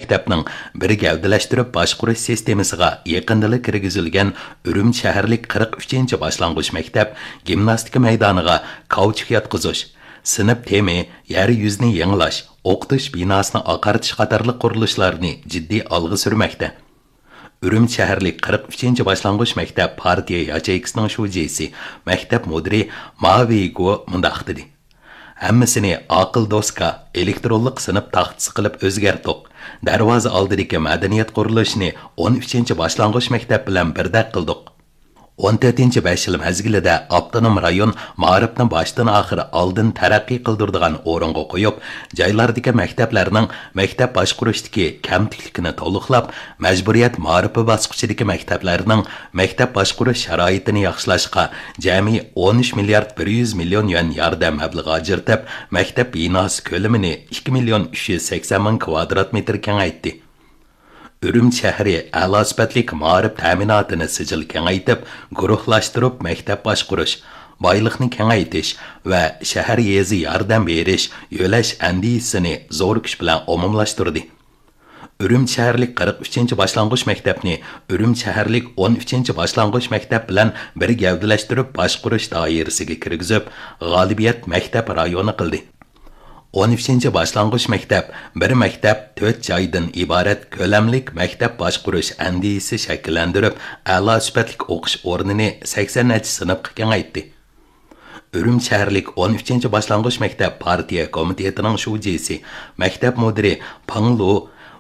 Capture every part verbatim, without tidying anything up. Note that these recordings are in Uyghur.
مەكتەپنىڭ بىر گەۋدىلەشتۈرۈپ باشقۇرۇش سىستېمىسىغا يېقىندىلا كىرگۈزۈلگەن ئۈرۈمچى شەھەرلىك قىرىق ئۈچىنچى باشلانغۇچ مەكتەپ گىمناستىكا مەيدانىغا كاۋچۇك ياتقۇزۇش، سىنىپ تېمى، يەر يۈزىنى يېڭىلاش، ئوقۇتۇش بىناسىنى ئاقارتىش قاتارلىق قۇرۇلۇشلارنى جىددىي ئالغا سۈرمەكتە. ئۈرۈمچى شەھەرلىك قىرىق ئۈچىنچى باشلانغۇچ مەكتەپ پارتىيە ياچېيكىسىنىڭ شۇجىسى، مەكتەپ مۇدىرى ما ۋېيگو مۇنداق دېدى: ھەممىسىنى ئاقىل دوسكا، ئېلېكترونلۇق سىنىپ تاختىسى قىلىپ ئۆزگەرتتۇق. دەرۋازا ئالدىدىكى مەدەنىيەت قۇرۇلۇشىنى ئون ئۈچىنچى باشلانغۇچ مەكتەپ بىلەن بىردەك قىلدۇق. ئون تۆتىنچى بەش يىل مەزگىلىدە ئاپتونوم رايون مائارىپنى باشتىن ئاخىر ئالدىن تەرەققىي قىلدۇرىدىغان ئورۇنغا قويۇپ، جايلاردىكى مەكتەپلەرنىڭ مەكتەپ باشقۇرۇشتىكى كەمتۈكلۈكىنى تولۇقلاپ، مەجبۇرىيەت مائارىپى باسقۇچىدىكى مەكتەپلەرنىڭ مەكتەپ باشقۇرۇش شارائىتىنى ياخشىلاشقا جەمئىي ئون ئۈچ مىليارد بىر يۈز مىليون يۈەن ياردەم مەبلىغى ئاجرىتىپ، مەكتەپ بىناسى كۆلىمىنى ئىككى مىليون ئۈچ يۈز سەكسەن مىڭ كىۋادرات مېتىر كېڭەيتتى. ئۈرۈمچى شەھىرى ئەلا سۈپەتلىك مائارىپ تەمىناتىنى سىجىل كېڭەيتىپ، گۇرۇھلاشتۇرۇپ مەكتەپ باشقۇرۇش، بايلىقنى كېڭەيتىش ۋە شەھەر يېزا ياردەم بېرىش، يۆلەش ئەندىزىسىنى زور كۈچ بىلەن ئومۇملاشتۇردى. ئۈرۈمچى شەھەرلىك قىرىق ئۈچىنچى باشلانغۇچ مەكتەپنى ئۈرۈمچى شەھەرلىك ئون ئۈچىنچى باشلانغۇچ مەكتەپ بىلەن بىر گەۋدىلەشتۈرۈپ باشقۇرۇش دائىرىسىگە كىرگۈزۈپ، غالىبىيەت مەكتەپ رايونى قىلدى. ئون ئۈچىنچى باشلانغۇچ مەكتەپ، بىر مەكتەپ، تۆت جايدىن ئىبارەت كۆلەملىك مەكتەپ باشقۇرۇش ئەندىزىسى شەكىللەندۈرۈپ، ئەلا سۈپەتلىك ئوقۇش ئورنىنى سەكسەن نەچچە سىنىپقا كېڭەيتتى. ئۈرۈمچى شەھەرلىك ئون ئۈچىنچى باشلانغۇچ مەكتەپ پارتىيە كومىتېتىنىڭ شۇجىسى، مەكتەپ مۇدىرى پېڭ لۇ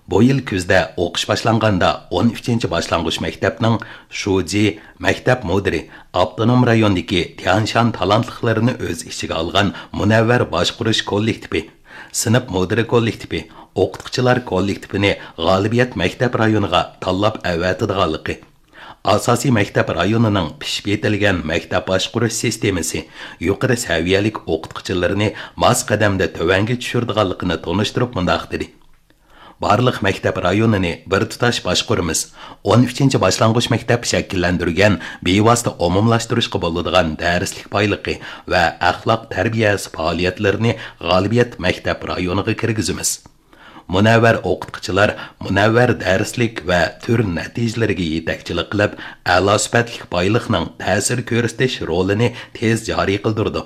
بۇ يىل كۈزدە ئوقۇش باشلانغاندا ئون ئۈچىنچى باشلانغۇچ مەكتەپنىڭ شۇجى، مەكتەپ مۇدىرى، ئاپتونوم رايوندىكى تيەنشان تالانتلىقلىرىنى ئۆز ئىچىگە ئالغان مۇنەۋۋەر باشقۇرۇش كوللېكتىپى، سىنىپ مۇدىرى كوللېكتىپى، ئوقۇتقۇچىلار كوللېكتىپىنى غالىبىيەت مەكتەپ رايونىغا تاللاپ ئەۋەتىدىغانلىقى، ئاساسىي مەكتەپ رايونىنىڭ پىشىپ يېتىلگەن مەكتەپ باشقۇرۇش سىستېمىسى، يۇقىرى سەۋىيەلىك ئوقۇتقۇچىلىرىنى ماس قەدەمدە تۆۋەنگە چۈشۈرىدىغانلىقىنى تونۇشتۇرۇپ مۇنداق دېدى: بارلىق مەكتەپ رايونىنى بىر تۇتاش باشقۇرىمىز. ئون ئۈچىنچى باشلانغۇچ مەكتەپ شەكىللەندۈرگەن بىۋاسىتە ئومۇملاشتۇرۇشقا بولىدىغان دەرسلىك بايلىقى ۋە ئەخلاق تەربىيەسى پائالىيەتلىرىنى غالىبىيەت مەكتەپ رايونىغا كىرگۈزىمىز. مۇنەۋۋەر ئوقۇتقۇچىلار مۇنەۋۋەر دەرسلىك ۋە تۈر نەتىجىلىرىگە يېتەكچىلىك قىلىپ، ئەلا سۈپەتلىك بايلىقنىڭ تەسىر كۆرسىتىش رولىنى تېز جارى قىلدۇرىدۇ.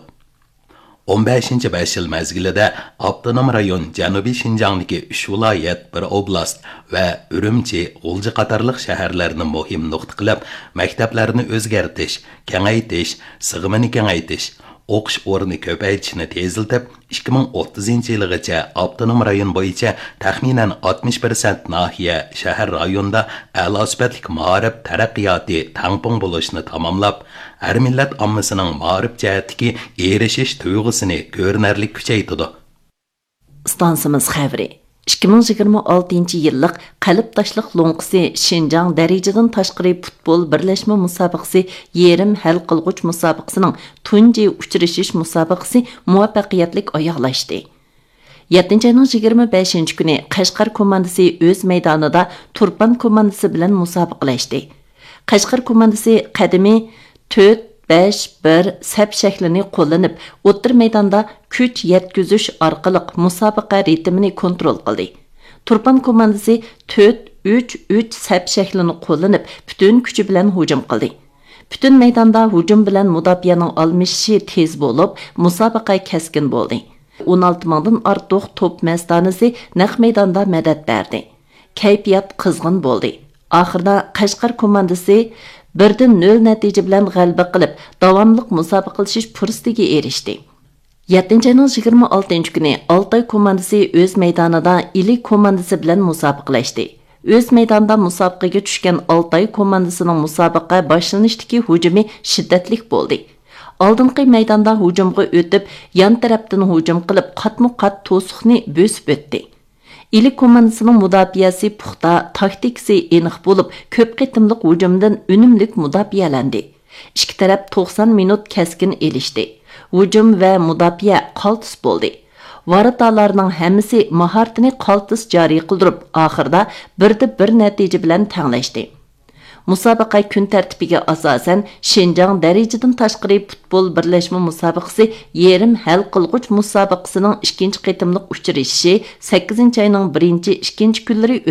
ئون بەشىنچى بەش يىل مەزگىلىدە ئاپتونوم رايون جەنۇبىي شىنجاڭدىكى ئۈچ ۋىلايەت، بىر ئوبلاست ۋە ئۈرۈمچى، غۇلجا قاتارلىق شەھەرلەرنى مۇھىم نۇقتا قىلىپ، مەكتەپلەرنى ئۆزگەرتىش، كېڭەيتىش، سىغىمىنى كېڭەيتىش، ئوقۇش ئورنى كۆپەيتىشنى تېزلىتىپ، ئىككى مىڭ ئوتتۇزىنچى يىلىغىچە ئاپتونوم رايون بويىچە تەخمىنەن ئاتمىش پىرسەنت ناھىيە، شەھەر، رايوندا ئەلا سۈپەتلىك مائارىپ تەرەققىياتى تەڭپۇڭ بولۇشنى تاماملاپ، ھەر مىللەت ئاممىسىنىڭ مائارىپ جەھەتتىكى ئېرىشىش تۇيغۇسىنى كۆرۈنەرلىك كۈچەيتىدۇ. ئىستانسىمىز خەۋىرى. ئىككى مىڭ يىگىرمە ئالتىنچى يىللىق قەلب تاشلىق لوڭقىسى شىنجاڭ دەرىجىدىن تاشقىرى پۇتبول بىرلەشمە مۇسابىقىسى يېرىم ھەل قىلغۇچ مۇسابىقىسىنىڭ تۇنجى ئۇچرىشىش مۇسابىقىسى مۇۋەپپەقىيەتلىك ئاياغلاشتى. يەتتىنچى ئاينىڭ يىگىرمە بەشىنچى كۈنى قەشقەر كوماندىسى ئۆز مەيدانىدا تۇرپان كوماندىسى بىلەن مۇسابىقىلەشتى. قەشقەر كوماندىسى قەدىمىي تۆت بەش بىر سەپ شەكلىنى قوللىنىپ، ئوتتۇرا مەيداندا كۈچ يەتكۈزۈش ئارقىلىق مۇسابىقە رىتىمىنى كونترول قىلدى. تۇرپان كوماندىسى تۆت ئۈچ ئۈچ سەپ شەكلىنى قوللىنىپ، پۈتۈن كۈچى بىلەن ھۇجۇم قىلدى. پۈتۈن مەيداندا ھۇجۇم بىلەن مۇداپىئەنىڭ ئالمىشىشى تېز بولۇپ، مۇسابىقە كەسكىن بولدى. ئون ئالتە مىڭدىن ئارتۇق توپ مەستانىسى نەق مەيداندا مەدەت بەردى. كەيپىيات قىزغىن بولدى. ئاخىرىدا قەشقەر كوماندىسى بىردىن نۆل نەتىجە بىلەن غەلىبە قىلىپ، داۋاملىق مۇسابىقىلىشىش پۇرسىتىگە ئېرىشتى. يەتتىنچى ئاينىڭ يىگىرمە ئالتىنچى كۈنى ئالتاي كوماندىسى ئۆز مەيدانىدا ئىلى كوماندىسى بىلەن مۇسابىقىلەشتى. ئۆز مەيدانىدا مۇسابىقىگە چۈشكەن ئالتاي كوماندىسىنىڭ مۇسابىقە باشلىنىشتىكى ھۇجۇمى شىددەتلىك بولدى. ئالدىنقى مەيداندا ھۇجۇمغا ئۆتۈپ، يان تەرەپتىن ھۇجۇم قىلىپ، قاتمۇ قات توسۇقنى بۆسۈپ ئۆتتى. ئىلى كوماندىسىنىڭ مۇداپىئەسى پۇختا، تاكتىكىسى ئېنىق بولۇپ، كۆپ قېتىملىق ھۇجۇمدىن ئۈنۈملۈك مۇداپىئەلەندى. ئىككى تەرەپ توقسان مىنۇت كەسكىن ئېلىشتى. ھۇجۇم ۋە مۇداپىئە قالتىس بولدى. ۋاراتالارنىڭ ھەممىسى ماھارىتىنى قالتىس جارى قىلدۇرۇپ، ئاخىرىدا بىردە بىر نەتىجە بىلەن تەڭلەشتى. مۇسابىقە كۈن تەرتىپىگە ئاساسەن، شىنجاڭ دەرىجىدىن تاشقىرى پۇتبول بىرلەشمە مۇسابىقىسى يېرىم ھەل قىلغۇچ مۇسابىقىسىنىڭ ئىككىنچى قېتىملىق ئۇچرىشىشى سەككىزىنچى ئاينىڭ بىرىنچى، ئىككىنچى كۈنلىرى